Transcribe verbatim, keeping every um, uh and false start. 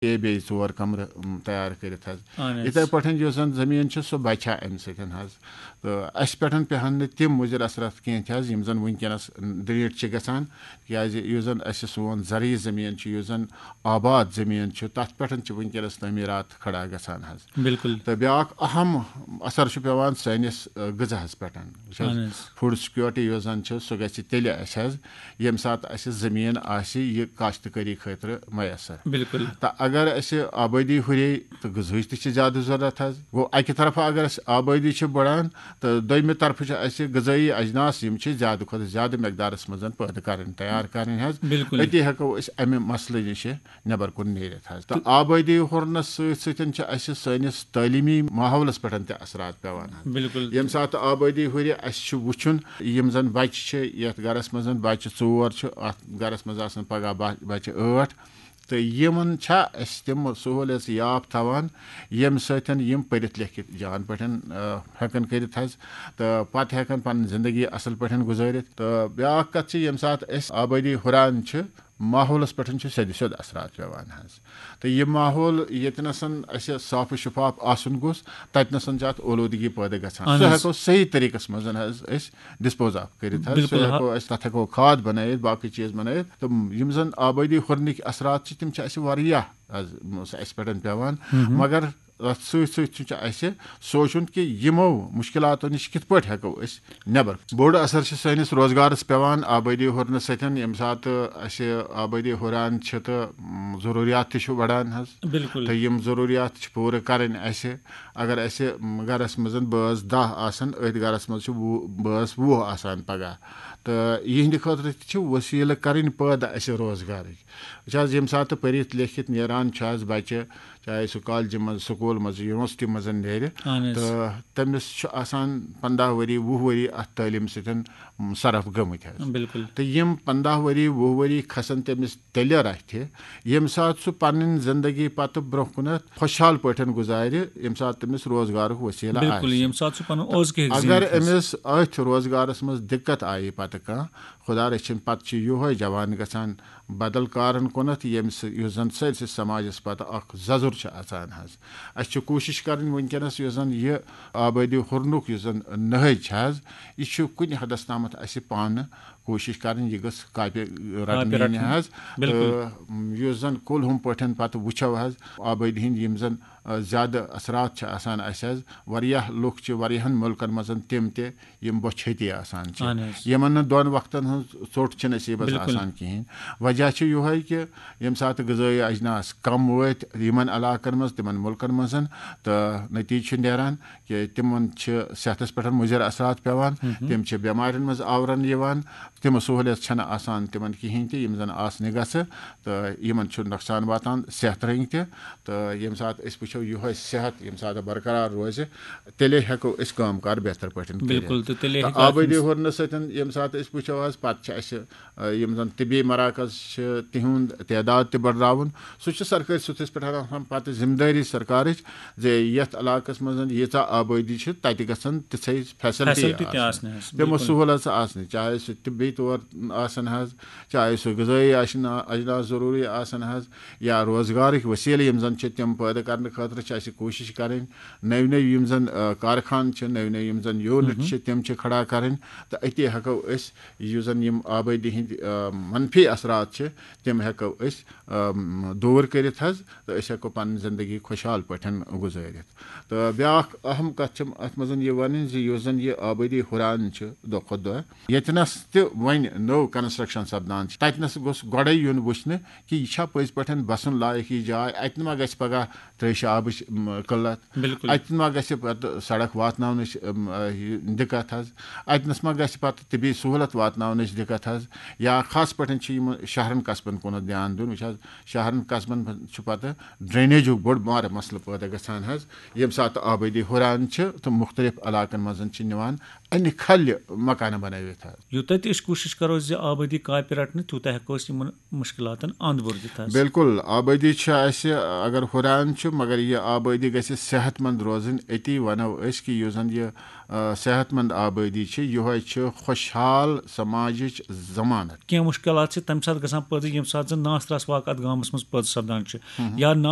A بیٚیہِ ژور کمرٕ، م، تیار کٔرِتھ حظ۔ اہن حظ۔ یِتھے پٲٹھۍ یُس زن زٔمیٖن چھِ، سُہ بچہِ ہا اَمہِ سۭتۍ حظ۔ تہٕ اَسہِ پٮ۪ٹھ پیٚہن نہٕ تِم مُضِر اثرات کینٛہہ تہِ حظ، یِم زن وٕنکیٚنس ڈیلیٖٹ چھِ گژھان، کیازِ یُس زن اَسہِ سون زرعی زٔمیٖن چھُ، یُس زن آباد زٔمیٖن چھُ، تتھ پٮ۪ٹھ چھِ وٕنکیٚنس تعمیٖرات کھڑا گژھان حظ۔ بالکل۔ تہٕ بیٛاکھ اہم اثر چھُ پیٚوان سٲنِس، آ، غذاہس پٮ۪ٹھ۔ وٕچھ حظ، اہن حظ۔ فوڈ سیکیورٹی یۄس زن چھِ، سۄ گژھِ تیٚلہِ اَسہِ حظ، ییٚمہِ ساتہٕ اَسہِ زٔمیٖن آسہِ یہِ کاشتکٲری خٲطرٕ میسر۔ بالکل۔ تہٕ اگر اَسہِ آبٲدی ہُرے تہٕ غذہٕچ تہِ چھِ زیادٕ ضروٗرت حظ۔ گوٚو، اَکہِ طرفہٕ اگر اَسہِ آبٲدی چھِ بڑان تہٕ دوٚیمہِ طرفہٕ چھِ اَسہِ غذٲیی اجناس، یِم چھِ زیادٕ کھۄتہٕ زیادٕ مقدارس منٛز پٲدٕ کرٕنۍ، تیار کرٕنۍ حظ۔ بالکل۔ أتی ہٮ۪کو أسۍ اَمہِ مسلہٕ نِش نٮ۪بر کُن نیٖرِتھ حظ۔ تہٕ آبٲدی ہُرنس سۭتۍ سۭتۍ چھِ اَسہِ سٲنِس تعلیٖمی ماحولس پٮ۪ٹھ تہِ اثرات پٮ۪وان حظ۔ بالکل۔ ییٚمہِ ساتہٕ آبٲدی ہُرِ، اَسہِ چھُ وٕچھُن، یِم زَن بَچہِ چھِ، یَتھ گَرَس منٛز بَچہِ ژور چھِ، اَتھ گَرَس منٛز آسَن پَگاہ با-، بَچہِ ٲٹھ، تہٕ یِمَن چھا أسۍ تِم سہوٗلیژ یاب تھاوان، ییٚمہِ سۭتۍ یِم پٔرِتھ لیکھِتھ جان پٲٹھۍ، آ، ہٮ۪کَن کٔرِتھ حظ، تہٕ پَتہٕ ہٮ۪کَن پَنٕنۍ زِندگی اَصٕل پٲٹھۍ گُزٲرِتھ۔ تہٕ بیٛاکھ کَتھ چھِ، ییٚمہِ ساتہٕ أسۍ آبٲدی ہُران چھِ، ماحولَس پٮ۪ٹھ چھُ سیٚدِ سیوٚد اثرات پٮ۪وان حظ۔ تہٕ یہِ ماحول ییٚتہِ نَسَن اَسہِ صاف و شفاف آسُن گوٚژھ، تَتہِ نَسَن چھِ اَتھ اولوٗدگی پٲدٕ گژھان۔ اہن سُہ حظ۔ ہٮ۪کو صحیح طریٖقَس منٛز حظ أسۍ ڈسپوز آف کٔرِتھ حظ۔ بالکل سُہ حظ۔ ہٮ۪کو أسۍ، تَتھ ہٮ۪کو کھاد بَنٲیِتھ، باقٕے چیٖز بَنٲیِتھ۔ تہٕ یِم زَن آبٲدی ہُرنٕکۍ اثرات چھِ، تِم چھِ اَسہِ واریاہ حظ اَسہِ پٮ۪ٹھ پٮ۪وان۔ مگر اَتھ سۭتۍ سۭتۍ چھُ اَسہِ سونٛچُن کہِ یِمو مُشکِلاتو نِش کِتھ پٲٹھۍ ہٮ۪کو أسۍ نٮ۪بر۔ بوٚڑ اثر چھُ سٲنِس روزگارس پٮ۪وان۔ آبٲدی ہُرنہٕ سۭتۍ، ییٚمہِ ساتہٕ اَسہِ آبٲدی ہُران چھِ تہٕ، م، ضروٗریات تہِ چھُ بڑان حظ۔ بالکل۔ تہٕ یِم ضروٗریات چھِ پوٗرٕ کرٕنۍ اَسہِ۔ اگر اَسہِ، م، گرس منٛز بٲژ دَہ آسن، أتھۍ گرس منٛز چھِ وُہ، بٲژ وُہ آسان پگاہ۔ تہٕ یِہنٛدِ خٲطرٕ تہِ چھِ وسیٖلہٕ کرٕنۍ پٲدٕ اَسہِ روزگارٕکۍ۔ وٕچھ حظ، ییٚمہِ ساتہٕ پٔرِتھ لیکھِتھ نیران چھُ حظ بچہِ، چاہے سُہ کالجہِ منٛز، سکوٗل منٛز، یونیورسٹی منٛز نیرِ، اہن حظ۔ تہٕ تٔمِس چھُ آسان پنٛداہ ؤری، وُہ ؤری اَتھ تعلیٖم سۭتۍ، م، صرف گٔمٕتۍ حظ۔ بالکل۔ تہٕ یِم پنٛداہ ؤری، وُہ ؤری کھسن تٔمِس تیٚلہِ رَتھِ، ییٚمہِ ساتہٕ سُہ پنٕنۍ زندگی پتہٕ برونٛہہ کُنتھ خۄشحال پٲٹھۍ گُزارِ، ییٚمہِ ساتہٕ تٔمِس روزگارُک وسیٖلہٕ بالکل، آسہِ۔ ییٚمہِ ساتہٕ سُہ پنُن اوس کہِ اگر أمِس أتھۍ روزگارس منٛز دِقت آیہِ پتہٕ کانٛہہ، خۄدا رٔچھِنۍ، پتہٕ چھُ یِہوے جوان گژھان بدل کارن کُنتھ، ییٚمہِ سۭتۍ، یُس زن سٲرسٕے سماجس پتہٕ اکھ ززُر چھُ اژان حظ۔ اسہِ چھِ کوٗشش کرٕنۍ وٕنکیٚنس، یُس زن یہِ آبٲدی ہُرنُک یُس زن نہج چھِ حظ، یہِ چھُ کُنہِ حدس تامتھ اسہِ پانہٕ کوٗشش کرٕنۍ، یہِ گٔژھ کاپہِ رٹنہٕ یِنۍ رٹٕنۍ۔ حظ۔ بالکل۔ تہٕ یُس زن کُل ہُم پٲٹھۍ پتہٕ وٕچھو حظ، آبٲدی ہٕنٛدۍ یِم زن، آ، زیادٕ اثرات چھِ آسان اسہِ حظ، واریاہ لُکھ چھِ واریاہن مُلکن منٛز تِم تہِ، یِم بۄچھِ ہتی آسان چھِ، اہن حظ۔ یِمن نہٕ دۄن وقتن ہٕنٛز ژوٚٹ چھِنہٕ نصیٖبس بالکل۔ آسان کِہیٖنۍ۔ وجہ چھُ یِہوے کہِ ییٚمہِ ساتہٕ غذٲیی اجناس کم وٲتۍ یِمن علاقن منٛز، تِمن مُلکن منٛز، تہٕ نتیٖجہٕ چھُ نیران کہِ تِمن چھِ صحتس پٮ۪ٹھ مُضر اثرات پٮ۪وان، تِم چھِ بٮ۪مارٮ۪ن منٛز آورن یِوان، تِم سہوٗلیت چھنہٕ آسان تِمن کِہیٖنۍ تہِ، یِم زن آسنہِ گژھِ، تہٕ یِمن چھُ نۄقصان واتان صحت رٔنٛگۍ تہِ۔ تہٕ ییٚمہِ ساتہٕ أسۍ وٕچھو یِہوے صحت ییٚمہِ ساتہٕ برقرار روزِ، تیٚلے ہٮ۪کو أسۍ کٲم کار بہتر پٲٹھۍ کٔرِتھ۔ بالکل، تہٕ تیٚلے تہٕ ہیٚکہِ اَتھ آبٲدی منٛز ہُرنہٕ سۭتۍ ییٚمہِ ساتہٕ أسۍ وٕچھو حظ، پتہٕ چھِ اَسہِ، آ، یِم زن طبی مراکز چھِ، تِہُنٛد تعداد تہِ بڑراوُن۔ سُہ چھُ سرکٲرۍ سطحس پٮ۪ٹھ آسان پتہٕ ذمہٕ دٲری سرکارٕچ زِ یتھ علاقس منٛز ییٖژاہ آبٲدی چھِ، تتہِ گژھن تِژھے فیسلٹی فیسلٹی تہِ آسٕنۍ۔ آسنہِ حظ، تِمو بالکل۔ سہوٗلژ آسنہِ، چاہے سُہ طبی طور آسن حظ، چاہے سُہ غذٲیی آسن، اجناس ضروٗری آسن حظ، یا روزگارٕکۍ وسیٖلہٕ یِم زن چھِ، تِم پٲدٕ کرنہٕ خٲطرٕ چھِ اَسہِ کوٗشش کرٕنۍ۔ نٔوۍ نٔوۍ یِم زن، آ، کارخانہٕ چھِ، نٔوۍ نٔوۍ یِم زن یوٗنٹ چھِ، تِم چھِ کھڑا کرٕنۍ۔ تہٕ أتی ہٮ۪کو أسۍ یُس زن یِم آبٲدی ہٕنٛدۍ، آ، منفی اثرات چھِ، تِم ہٮ۪کو أسۍ، آ، دوٗر کٔرِتھ حظ، تہٕ أسۍ ہٮ۪کو پنٕنۍ زندگی خۄشحال پٲٹھۍ گُزٲرِتھ۔ تہٕ بیٛاکھ اہم کتھ چھِ اتھ منٛز یہِ ونٕنۍ زِ یُس زن یہِ آبٲدی ہُران چھِ دۄہ کھۄتہٕ دۄہ، ییٚتہِ نس تہِ وۄنۍ نٔو کنسٹرکشن سپدان چھِ، تتہِ نس گوٚژھ گۄڈے یُن وٕچھنہٕ کہِ یہِ چھا پٔزۍ پٲٹھۍ بسُن لایق یہِ جاے، اتہِ ما گژھِ پگاہ تریشہِ آبٕچ، م، قلت، بالکل۔ اتہِ ما گژھِ پتہٕ سڑک واتناونٕچ، م، یہِ دِقت حظ، اتہِ نس ما گژھِ پتہٕ طبی سہوٗلت واتناونٕچ دِقت حظ، یا خاص پٲٹھۍ چھِ یِم شہرن قصبن کُنتھ دیان دیُن۔ وٕچھ حظ، شہرن قصبن چھُ پتہٕ ڈرینیجُک بوٚڑ بارٕ مسلہٕ پٲدٕ گژھان حظ، ییٚمہِ ساتہٕ آبٲدی ہُران چھِ تہٕ مُختٔلِف علاقن منٛز چھِ نِوان انہِ کھلہِ مکانہٕ بنٲوِتھ حظ۔ یوٗتاہ تہِ أسۍ کوٗشِش کرو زِ آبٲدی کاپہِ رٹنہٕ، تیوٗتاہ ہٮ۪کو أسۍ یِمن مُشکِلاتن اند بوٚر دِتھ حظ۔ بالکل، آبٲدی چھِ اَسہِ، اگر ہُران چھُ، مگر یہِ آبٲدی گژھِ صحت مند روزٕنۍ۔ أتی وَنو أسۍ کہِ یُس زَن یہِ، آ، صحت مند آبٲدی چھِ، یِہوٚے چھِ خۄشحال سماجٕچ ضمانت۔ کینٛہہ مُشکِلات چھِ تَمہِ ساتہٕ آسان پٲدٕ، ییٚمہِ ساتہٕ زَن ناس ترٛاس واقعہٕ اَتھ گامَس منٛز پٲدٕ سَپدان چھِ، یا ناس